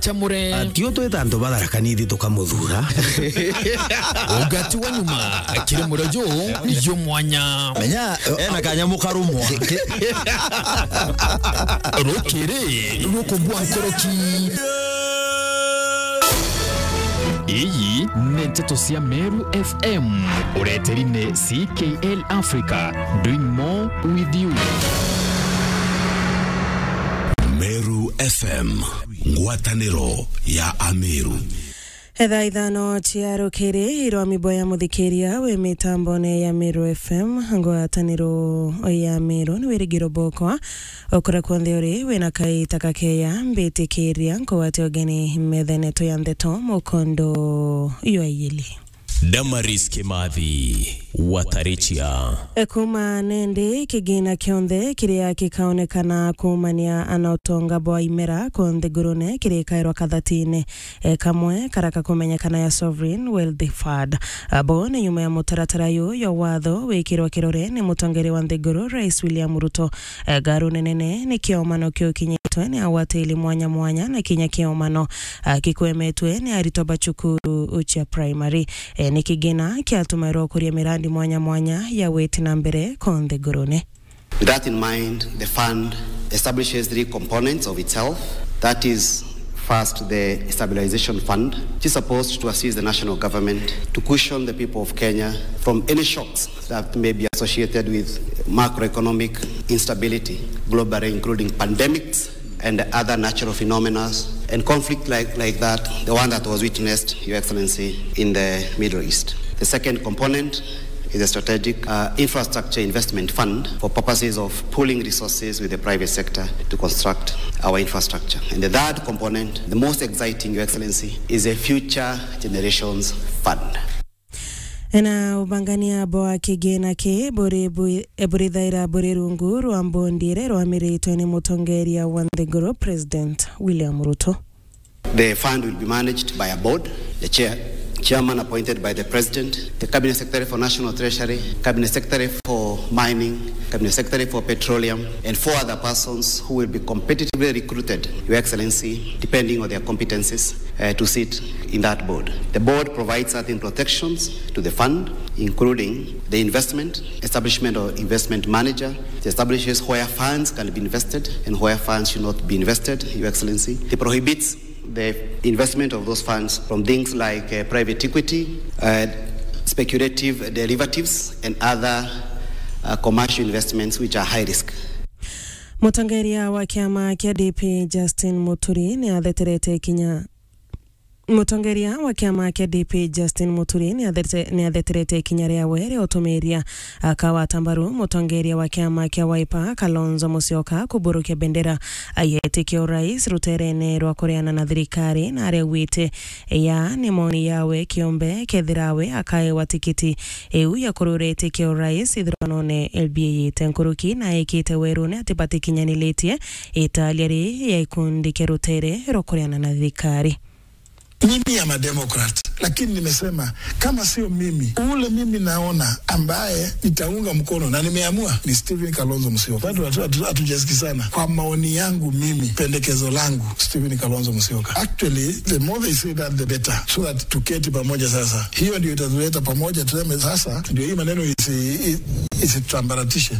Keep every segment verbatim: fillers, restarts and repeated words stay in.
Chamure. Atio twita antu ba Tharaka Nithi tukamuthura. Ugati wa nyuma, kiri murojo, yo mwanya. Menya, ena kanyamu karumwa. Rukiri, rukugwa nkoroki. Iyi ni nteto cia Meru F M. Ureteri ni C K L Africa, doing more with you. Meru F M, ngwataniro ya Ameru. Etha ithano cia rukiri, irwa miboya muthikiria wi mitambone ya Meru F M, ngwataniro ya Meru, ni wirigiro bokwa. Ukura kwonthe uri, wina kaita kakeya, mbitikiria nkugwate ugeni methene tu ya ndeto mukondo ywa iyili. Damaris Kimathi, Watarichia. E, kuma nendi, kigina kionthe kiria kikaonekana kuumania na utonga bwa imera kwonthe ngurune kirikairwa kathatine, e, kamwe karaka kumenyekana ya Sovereign Wealth Fund. Abo ni nyuma ya mutaratara uyu ya watho wikirwa kirore ni mutongeria wa nthiguru, Rais William Ruto. E, garu nenene ni kiomano kiu kinyitwe ni agwatiri mwanya mwanya na kinya kiomano, a, kikwemetwe ni aritwa ba cukuru cia primary. E, ni kigina kiatumairwa kuria mirandi mwanya mwanya ya gwiti na mbere konthe ngurune. With that in mind, the fund establishes three components of itself. That is, first, the stabilization fund, which is supposed to assist the national government to cushion the people of Kenya from any shocks that may be associated with macroeconomic instability globally, including pandemics and other natural phenomena and conflict like, like that, the one that was witnessed, Your Excellency, in the Middle East. The second component is a strategic, uh, infrastructure investment fund for purposes of pooling resources with the private sector to construct our infrastructure. And the third component, the most exciting, Your Excellency, is a future generations fund. Ena ubangania bwa kigina ki buri bu-, e, burithaira buri rungu rwa mbondi iria irwamiritwe ni mutongeria wa nthiguru, President William Ruto. The fund will be managed by a board, the chair, chairman appointed by the president, the cabinet secretary for national treasury, cabinet secretary for mining, cabinet secretary for petroleum, and four other persons who will be competitively recruited, Your Excellency, depending on their competencies, uh, to sit in that board. The board provides certain protections to the fund, including the investment, establishment of investment manager. It establishes where funds can be invested and where funds should not be invested, Your Excellency. It prohibits the investment of those funds from things like, uh, private equity, uh, speculative derivatives, and other, uh, commercial investments which are high risk. Mutongeria wa kiama kia D P, Justin Muturi, ni atheterete ikinya. Mutongeria wa kiama kia D P, Justin Muturi, ni athete-, ni atheterete ikinya riawe ria utumiria akawata mbaru mutongeria wa kiama kia Wiper, Kalonzo Musyoka, kuburukia bendera ya itikio rais ruterene rwa kureana na thirikari, na aria augite ya ni moni yawe kiumbe kethira we akaewa tikiti iu ya kurura itikio rais ithiranone L B A ite nkuruki na ekite werune ati batikinyanilitie italia ri ya ikundi kia rutere rwa kureana na thirikari. Mimi am a Democrat, lakini nimesema kama sio mimi, ule mimi naona ambaye nitaunga mkono na nimeamua ni Stephen Kalonzo Musyoka. Bado hatu-, hatu-, hatujasikizana. Kwa maoni yangu mimi, pendekezo langu, Stephen Kalonzo Musyoka. Actually, the more they say that, the better, so that tuketi pamoja sasa. Hiyo ndio itatuleta pamoja, tuseme sasa ndio hii maneno isi-, i-, isitambaratishe.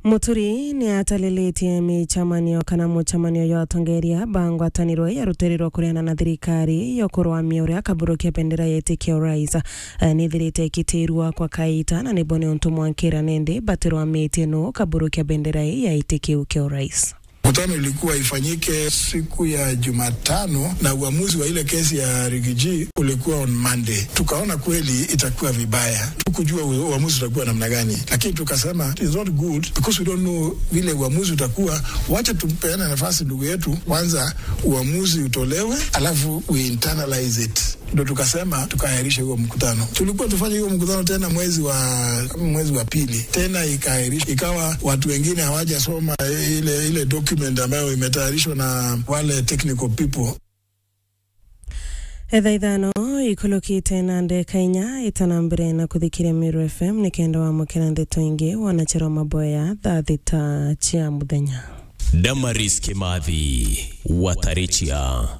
Muturi ni atalilitie micemanio kana mucemanio jwa atongeria ba ngwataniro ya rutere rwa kureana na thirikari ya kurwamia uria akaburukia bendera ya itikio rais. Eh, nithirite ikitirua kwa kaita na nibo ni untu mwankira nindi batirwamitie nu kaburukia bendera ya itikio kia urais. Mkutano ilikuwa ifanyike siku ya Jumatano na uamuzi wa ile kesi ya Rigiji ulikuwa on Monday. Tukaona kweli itakuwa vibaya. Tukujua u-, uamuzi utakuwa namna gani. Lakini tukasema, "It's not good because we don't know vile uamuzi utakuwa. Wacha tumpeane nafasi ndugu yetu, kwanza uamuzi utolewe, alafu we internalize it." Ndo tukasema tukaahirisha huo mkutano. Tulikuwa tufanye huo mkutano tena mwezi wa, mwezi wa pili. Tena ikaahirishwa. Ikawa watu wengine hawajasoma ile, ile document ambayo imetayarishwa na wale technical people. Etha ithano ikulukite na ndeka inya itana mbere na kuthikiria Meru F M ni kenda wamukira ndeto ingi wona chero maboya thaa thita cia muthenya. Damaris Kimathi, Watarichia.